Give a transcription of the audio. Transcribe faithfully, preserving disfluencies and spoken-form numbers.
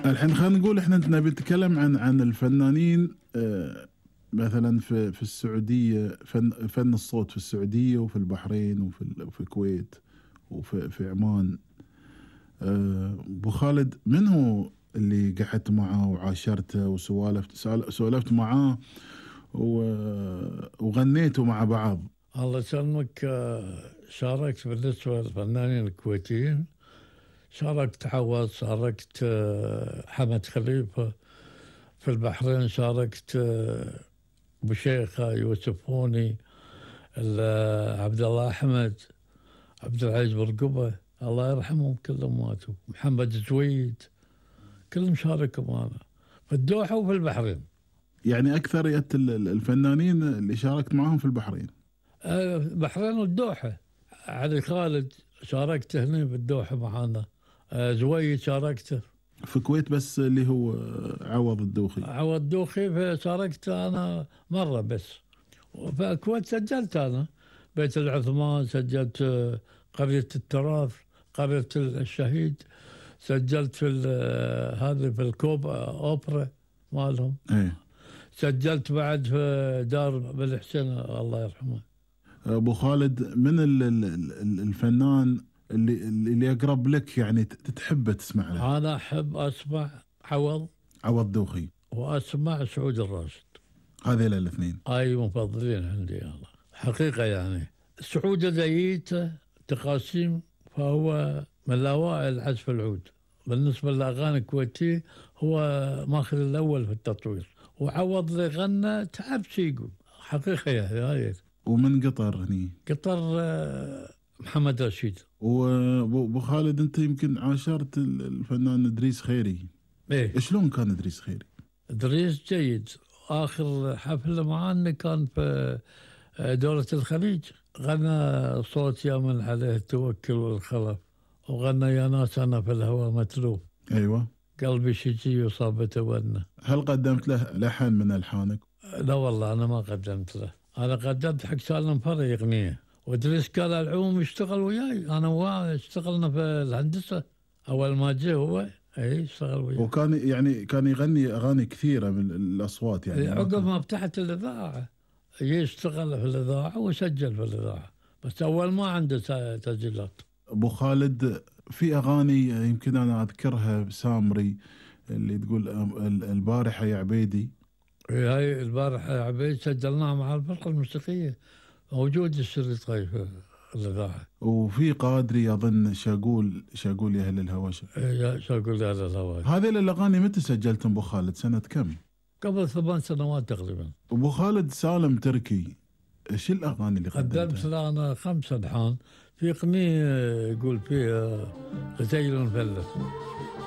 الحين خلينا نقول احنا نبي نتكلم عن عن الفنانين آه، مثلا في في السعوديه، فن فن الصوت في السعوديه وفي البحرين وفي ال- وفي الكويت وفي في عمان. آه، ابو خالد، من هو اللي قعدت معاه وعاشرته وسوالفت سال- سولفت معاه و- وغنيتوا مع بعض؟ الله يسلمك. آه، شاركت بالنسبة للفنانين الكويتيين، شاركت عوض، شاركت آه، حمد خليفة. في البحرين شاركت آه، أبو شيخة، يوسف هوني، ال- آه، عبد الله أحمد، عبد العزيز برقبة، الله يرحمهم كلهم ماتوا، محمد زويد، كلهم شاركوا معنا في الدوحة وفي البحرين. يعني اكثرية ال- ال- الفنانين اللي شاركت معاهم في البحرين. آه، البحرين والدوحة. علي خالد شاركت هنا بالدوحة معانا. آه، زويد شاركته. في الكويت بس اللي هو عوض الدوخي. عوض دوخي شاركت أنا مرة بس. وفي الكويت سجلت أنا بيت العثمان، سجلت آه، قرية التراث، قرية الشهيد، سجلت في ال- آه، هذه في الكوب آه، أوبرا مالهم. ايه. سجلت بعد في دار بن حسين الله يرحمه. ابو خالد، من ال- ال- ال- الفنان اللي اللي اقرب لك، يعني ت- تحبه تسمع له؟ أنا أحب أسمع عوض عوض دوخي. وأسمع سعود الراشد. هذيل الاثنين. أي مفضلين عندي الله حقيقة. يعني سعود زيته تقاسيم، فهو من الأوائل عزف العود بالنسبة للأغاني الكويتية، هو ماخذ الأول في التطوير. وعوض اللي غنى تعب شي يقول حقيقة يعني هاي. ومن قطر هني قطر آه، محمد رشيد. وابو أبو خالد، انت يمكن عاشرت ال- الفنان ادريس خيري. ايه، شلون كان ادريس خيري؟ ادريس جيد. اخر حفله معنا كان في آه، دولة الخليج، غنى صوت يا من عليه التوكل والخلف، وغنى يا ناس انا في الهوى متلوف، ايوه. قلبي شجي وصاب تونى. هل قدمت له لحن من الحانك؟ لا والله انا ما قدمت له، انا قدمت حق سالم فري اغنيه، وادريس قال العوم يشتغل وياي، انا وياه اشتغلنا في الهندسه اول ما جه هو. اي اشتغل وياي. وكان يعني كان يغني اغاني كثيره من الاصوات يعني. عقب ما فتحت الاذاعه يشتغل في الاذاعه وسجل في الاذاعه، بس اول ما عنده س- تسجيلات. ابو خالد، في اغاني يمكن انا اذكرها بسامري، اللي تقول ال- البارحه يا عبيدي. هاي البارحه يا عبيد سجلناها مع الفرقه الموسيقيه، موجود الشريط هاي في الاذاعه. وفي قادري اظن شاقول شاقول يا اهل الهوى. إيه، شو اقول هذا الهواي. هذه الاغاني متى سجلتم ابو خالد؟ سنه كم؟ قبل ثمان سنوات تقريبا. ابو خالد، سالم تركي، ايش الاغاني اللي قدمت قدمتها؟ له انا خمس الحان في اغنيه يقول فيها غزيل مفلس.